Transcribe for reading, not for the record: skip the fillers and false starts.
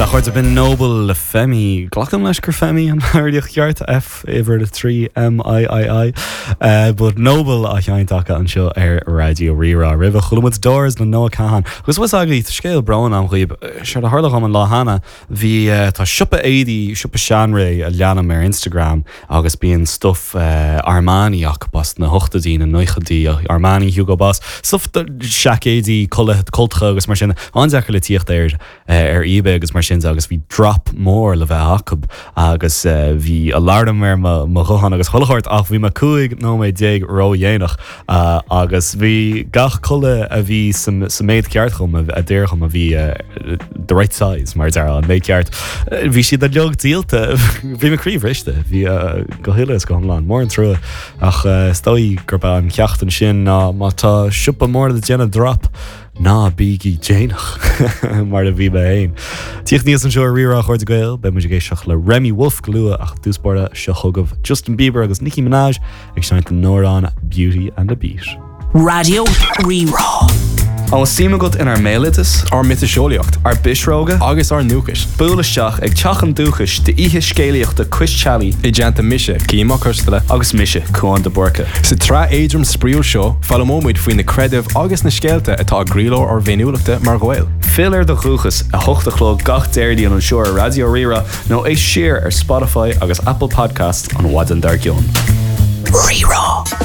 Sea, a chairde, b'in Noble le Femi. Glacaim leis gur Femi an fhoghraíocht cheart, F uimhir 3 M I I I. But Noble á sheinnt acu anseo ar Raidió Rí-Rá. Roimhe chuala muid Doors le Noah Kahan. Agus bhfuil fhios agaibh, tá scéal bróin agam dhaoibh. Séard a tharla dhom an lá cheana, bhí, tá siopa éadaí, siopa seanré a leanaim ar Instagram agus bíonn stuff Armani acu as na hochtóidí, na nóchaidí, Armani, Hugo Boss, stuff seaicéidí, cultacha agus mar sin, an-deacair le tíocht air ar eBay agus mar sin de agus bhí drop mór le bheith acu agus bhí alarm ar mo ghuthán agus chuile shórt ach bhí mé 15 nóiméad ródhéanach Agus bhí gach culaith a bhí sa méid ceart dhom, a d'oir dhom, a bhí the right size, mar a déarfá, an méid ceart, bhí siad uilig díolta. Bhí mo chroí bhriste, bhí go huile is go hiomlán. Mór an trua. Ach is dóigh gurb é an ceacht ansin ná má tá siopa mór ag déanamh drop, ná bígí déanach, mar a bhí mé féin. Tíocht aníos anseo ar Rí-Rá, a chairde Gael, beidh muid ag éisteacht le Remi Wolf go luath ach i dtús báire seo chugaibh Justin Bieber agus Nicki Minaj ag seinnt an amhrán Beauty and the Beat. Raidió Rí-Rá. An bhfuil suim agat inár mbéaloideas? Ár miotaseolaíocht? Ár bpisreoga? Agus ár ndúchais? Buail isteach ag Teach an Dúchais d'oíche scéalaíochta Cois Teallaigh. I dteannta mise, Cian Mac Coisteala. Agus mise, Cúán de Búrca. Sa tsraith éadrom spraíúil seo, foghlaimeoidh muid faoi na creidimh agus na scéalta atá i gcroílár ár bhféiniúlachta mar Ghaeil. Fill ar do dhúchas, 8 a chlog gach Déardaoin anseo ar Raidió Rí-Rá nó éist siar ar Spotify agus Apple Podcasts an mhaidin dár gcionn. Rí-Rá.